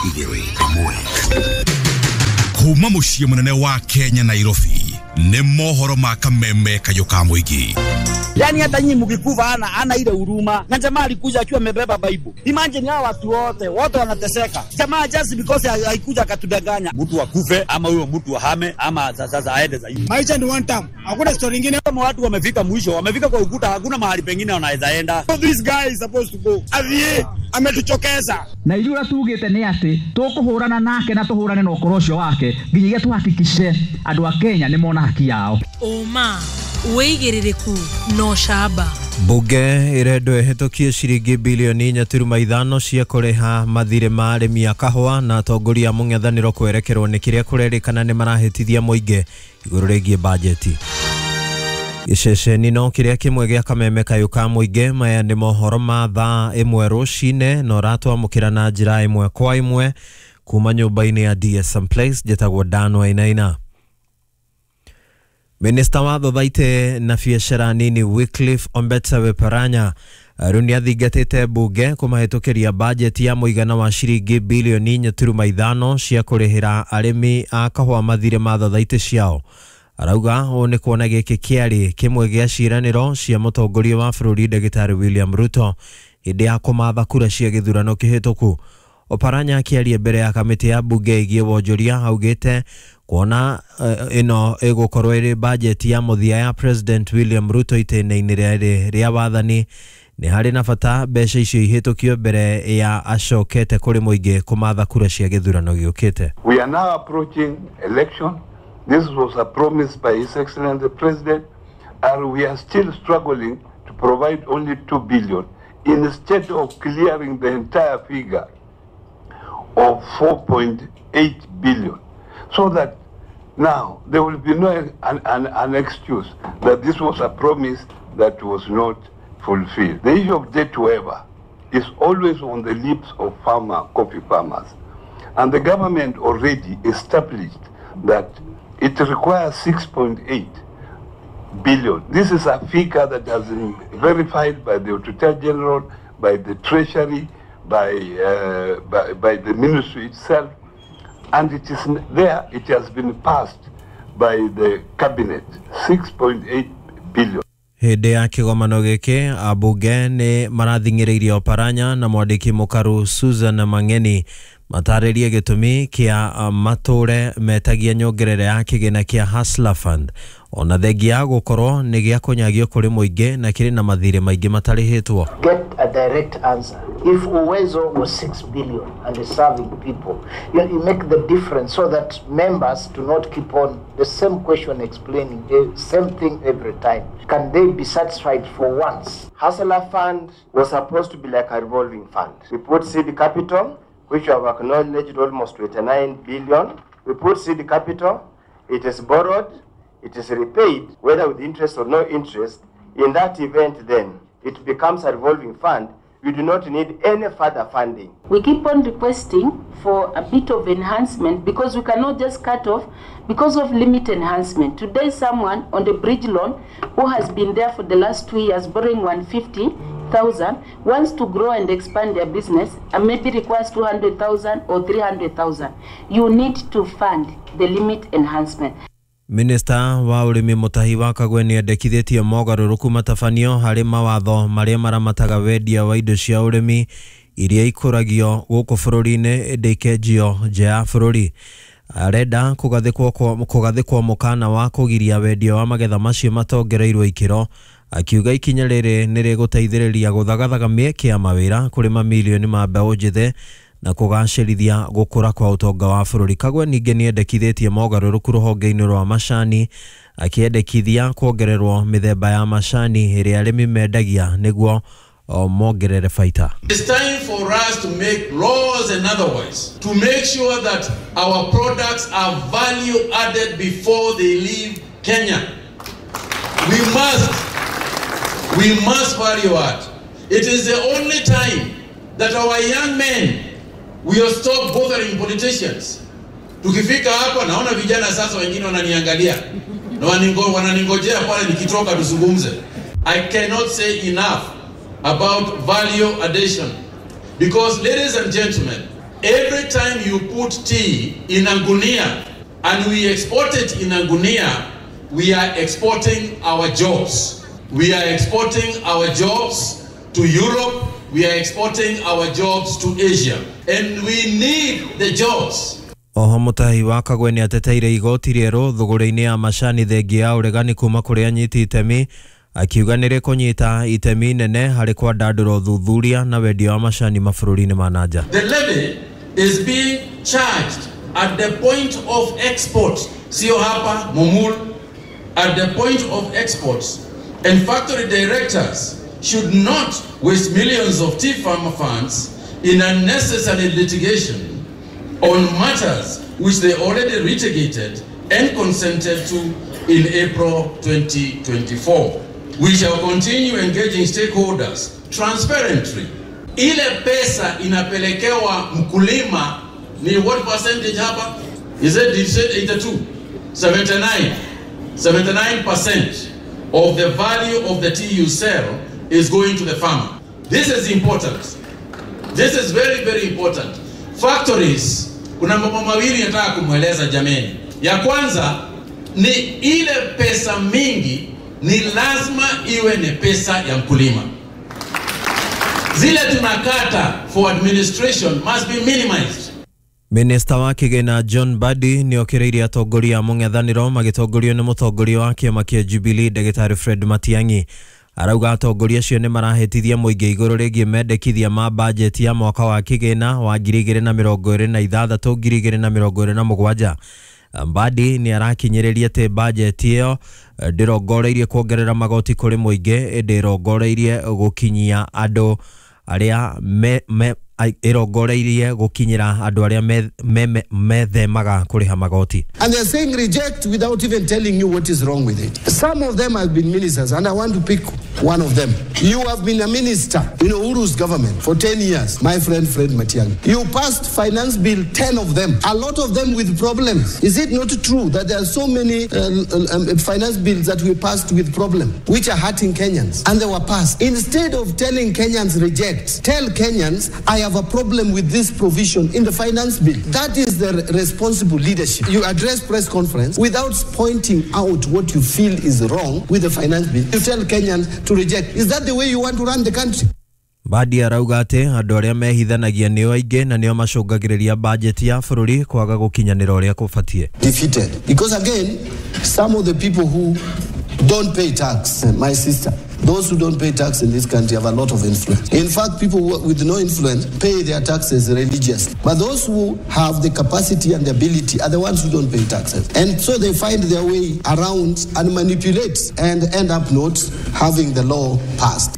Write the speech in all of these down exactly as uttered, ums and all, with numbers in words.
Igĩrĩ ĩmwe kuma mũciĩ mũnene wa Kenya, Nairobi, nĩ mohoro ma kameme kayũ ka mũingĩ. Yani hata nyinyi mkikufa ana ana ile huruma. Na jamaa alikuja akiwa amebeba Bible. Imagine hao watu wote, wote wanateseka. Jamaa just because haikuja akatudanganya. Mtu akufe ama huyo mtu ahame ama sasa aende zaidi. Maisha ni one time. Hakuna story nyingine. Kama watu wamefika mwisho, wamefika kwa ukuta, hakuna mahali pengine wanaweza enda. So this guy is supposed to go. Avie ametuchokeza. Na ithuĩ ũrĩa tugĩte nĩ atĩ tũkũhũrana nake na tũhũrane na ũkoro ũcio wake nginyagia tuhakikishe andũ a Kenya nĩ mona haki yao. Ũma wĩigĩrĩrĩku no camba. Bunge ĩrendwo ĩhĩtũkie ciringi bilioni inya turuma ithano cia kũrĩha mathirĩ ma arĩmi a kahũa na atongoria a mũng'ethanĩro kwerekerwo nĩ kĩrĩa kũrerĩkana nĩ marahĩtithia mũingĩ igũrũ rĩgiĩ bajeti. Gĩceceni no kĩrĩa kĩmwe gĩa kameme kayũ ka mũingĩ. Maya nĩ mohoro ma thaa ĩmwe rũcinĩ na ũratwamũkĩra na njĩra ĩmwe kwa ĩmwe kuma nyũmba-inĩ ya D S M Place. Njĩtagwo Dan Wainaina. Minista wa Thothaitĩ na biacara nini Wycliffe Ombetsa Weparanya rĩu nĩathingatĩte bunge kũmahĩtũkĩria bajeti ya mũigana wa ciringi bilioni inya turuma ithano cia kũrĩhĩra arĩmi a kahũa mathirĩ ma thothaitĩ ciao. Arauga ũũ nĩ kuona gĩkĩ kĩarĩ kĩmwe gĩa ciĩranĩro cia mũtongoria wa bũrũri Ndagĩtarĩ William Ruto hĩndĩ ya kũmatha kura cia gĩthurano kĩhĩtũku. Oparanya akĩaria mbere ya kamĩtĩ ya bunge ĩgiĩ wonjoria augĩte kuona ĩno ĩgũkorwo ĩrĩ bajeti ya mũthia ya President William Ruto itĩna-inĩ rĩarĩ rĩa wathani nĩ harĩ na bata mbeca icio ihĩtũkio mbere ya acokete kũrĩ mũingĩ kũmatha kura cia gĩthurano gĩũkĩte. We are now approaching election. This was a promise by His Excellency the President, and we are still struggling to provide only two billion instead of clearing the entire figure of four point eight billion, so that now there will be no an, an, an excuse that this was a promise that was not fulfilled. The issue of debt waiver is always on the lips of farmer, coffee farmers, and the government already established that it requires six point eight billion. This is a figure that has been verified by the Auditor General, by the Treasury, by, uh, by, by the ministry itself, and it is there, it has been passed by the cabinet, six point eight billion. Hĩndĩ ya kĩgomano gĩkĩ ambunge nĩ marathing'ĩrĩirie Oparanya na mwandĩki mũkaru Susan Mang'eni matarĩrie gĩtũmi kĩa matũre metagia nyongerera ya kĩgĩna kĩa Hustler Fund ona thengia ya gũkorwo nĩ gĩa kũnyagio kũrĩ mũingĩ na kĩrĩ na mathirĩ maingĩ matarĩhĩtwo. Get a direct answer. If Uwezo was six billion and is serving people, you, you make the difference so that members do not keep on the same question explaining the same thing every time. Can they be satisfied for once? Hustler Fund was supposed to be like a revolving fund. We put seed capital, which we have acknowledged almost twenty-nine billion. We put seed capital, it is borrowed, it is repaid, whether with interest or no interest. In that event then, it becomes a revolving fund. We do not need any further funding. We keep on requesting for a bit of enhancement because we cannot just cut off because of limit enhancement. Today, someone on the bridge loan who has been there for the last two years borrowing one hundred fifty thousand wants to grow and expand their business and maybe requires two hundred thousand or three hundred thousand. You need to fund the limit enhancement. Minista wa ũrĩmi Mutahi wa Kagwe nĩendekithĩtie mogarũrũku matabanio harĩ mawatho marĩa maramataga wendia wa indo cia ũrĩmi iria ikũragio gũkũ bũrũri-inĩ ĩndĩ ikenjio nja ya bũrũri. Arenda kũgathĩkwo kũgathĩkwo mũkana wa kũgiria wendia wa magetha macio matongereirwo ikĩro, akiuga ikinya rĩrĩ nĩ rĩgũteithĩrĩria gũthagathaga mĩeke ya mawĩra kũrĩ mamilioni ma mbeũ njĩthĩ na kũgacĩrithia gũkũra kwa ũtonga wa bũrũri. Kagwe ningĩ nĩendekithĩtie mogarũrũku rũhonge-inĩ rwa macani, akĩendekithia kuongererwo mĩthemba ya macani ĩrĩa arĩmi mendagia nĩguo mongerere baita. It's time for us to make laws and otherwise to make sure that our products are value added before they leave Kenya. We must, we must value add. It is the only time that our young men will stop bothering politicians. Tukifika hapa naona vijana sasa wengine wananiangalia na wananingojea pale nikitoka tuzungumze. I cannot say enough about value addition because, ladies and gentlemen, Every time you put tea in a gunia and we export it in a gunia, we are exporting our jobs. We are exporting our jobs to Europe. We are exporting our jobs to Asia. And we need the jobs. Oho Mutahi wa Kagwe nĩ ateteire igoti rĩerũ thũgũrĩ-inĩ ya macani thengia ya ũregani kuma kũrĩ anyiti itemi, akiuga nĩ rĩkũnyita itemi nene harĩ kwandandũra ũthuthuria na wendia wa macani mabũrũri-inĩ ma na nja. The levy is being charged at the point of export, sio hapa Mumul, at the point of exports, and factory directors should not waste millions of tea farmer funds in unnecessary litigation on matters which they already litigated and consented to in April twenty twenty-four. We shall continue engaging stakeholders transparently. Ile pesa inapelekewa mkulima ni what percentage hapa? Is it eighty-two? seventy-nine. seventy-nine percent of the value of the tea you sell is going to the farmer. This is important. This is very, very important. Factories, kuna mambo mawili nataka kumweleza jameni. Ya kwanza ni ile pesa mingi ni lazima iwe ni pesa ya mkulima. Zile tunakata for administration must be minimized. Minista wa kĩgĩna John Mbadi nĩokĩrĩirie atongoria a mũng'ethanĩro magĩtongorio nĩ mũtongoria wa kĩama kĩa Jubilee Ndagĩtarĩ Fred Matiang'i. Arauga atongoria acio nĩ marahĩtithia mũingĩ igũrũ rĩgiĩ mendekithia ma bajeti ya mwaka wa kĩgĩna wa ngiri igĩrĩ na mĩrongo ĩrĩ na ithathatũ ngiri igĩrĩ na mĩrongo ĩrĩ na mũgwanja. Mbadi nĩ arakinyĩrĩria atĩ bajeti ĩyo ndĩrongoreirie kuongerera magoti kũrĩ mũingĩ, ĩndĩ ĩrongoreirie gũkinyia andũ arĩa me, me ĩrongoreirie gũkinyĩra andũ arĩa methemaga kũrĩha magoti. And they're saying reject without even telling you what is wrong with it. Some of them have been ministers, and I want to pick one of them. You have been a minister in Uhuru's government for ten years, my friend Fred Matiang'i. You passed finance bill, ten of them, a lot of them with problems. Is it not true that there are so many uh, um, finance bills that we passed with problems, which are hurting Kenyans, and they were passed? Instead of telling Kenyans reject, tell Kenyans, I have a problem with this provision in the finance bill. That is the responsible leadership. You address press conference without pointing out what you feel is wrong with the finance bill. You tell Kenyans to reject. Is that the way you want to run the country? Mbadi arauga atĩ andũ arĩa mehithanagia nĩo aingĩ na nĩo macũngagĩrĩria bajeti ya bũrũri kwaga gũkinyanĩra ũrĩa kũbatiĩ. Defeated. Because again, some of the people who don't pay tax, my sister, those who don't pay tax in this country have a lot of influence. In fact, people with no influence pay their taxes religiously. But those who have the capacity and the ability are the ones who don't pay taxes. And so they find their way around and manipulate and end up not having the law passed.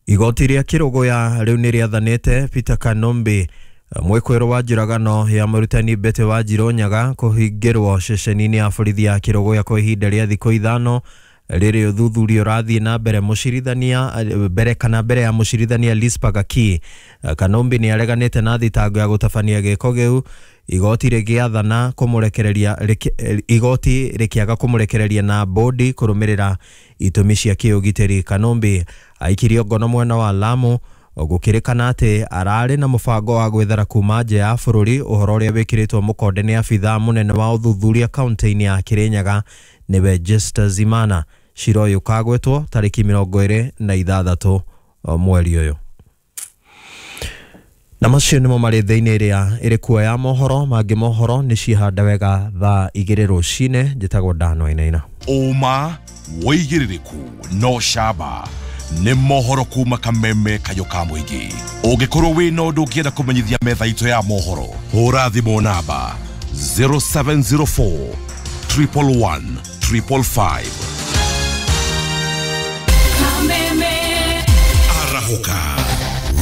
Igoti rĩa Kĩrũgũya rĩu nĩ rĩathanĩte Peter Kanombe mwĩkũĩrwo wa njũragano ya mũrutani Betty Wanjirũ Nyaga kũhingĩrwo ceceni-inĩ ya borithi ya Kĩrũgũya kwa ihinda rĩa thikũ ithano rĩrĩ ũthuthuria ũrathiĩ na mbere mũcirithania mbere kana mbere ya mũcirithania Lispa Gaki. Kanombe nĩ areganĩte na thitango ya gũtabania gĩko gĩu, igoti rĩgĩathana kũmũrekereria igoti rĩkĩaga kũmũrekereria na bodi kũrũmĩrĩra itũmi cia kĩũgitĩri. Kanombe aikirio ngono mwena wa Lamu gũkĩrĩkana atĩ ararĩ na mũbango wa gwĩthara kuma nja ya bũrũri, ũhoro ũrĩa wĩkĩrĩtwo mũkonde nĩ abithaa mũnene wa ũthuthuria kaunti-inĩ ya Kirinyaga nĩwe Jester Zimana. Cira ũyũ ũkagwetwo tarĩki mĩrongo ĩrĩ na ithathatũ mweri ũyũ. Na macio nĩmo marĩ thĩinĩ ĩrĩa ĩrĩ kuo ya mohoro. Mangĩ mohoro nĩ cihanda wega thaa igĩrĩ rũcinĩ. Njĩtagwo Dan Wainaina. Ũma wĩigĩrĩrĩku no camba nĩ mohoro kuma Kameme Kayũ ka mũingĩ. Ũngĩkorwo wĩna ũndũ ũngĩenda kũmenyithia metha itũ ya mohoro, hũra thimũ namba zero seven zero four triple one triple five. Kameme Arahũka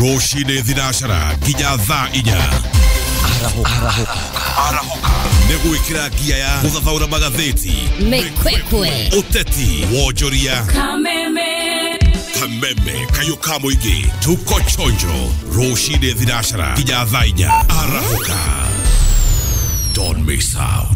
rũcinĩ thinacara nginya thaa inya. Arahũka Arahũka nĩ gwĩkĩra ngia ya gũthathaũra magathĩti, mĩkwekwe, ũteti, wonjoria. Kameme Kameme Kayũ ka mũingĩ, tuko chonjo rũcinĩ thinacara nginya thaa inya. Arahũka, don't miss out.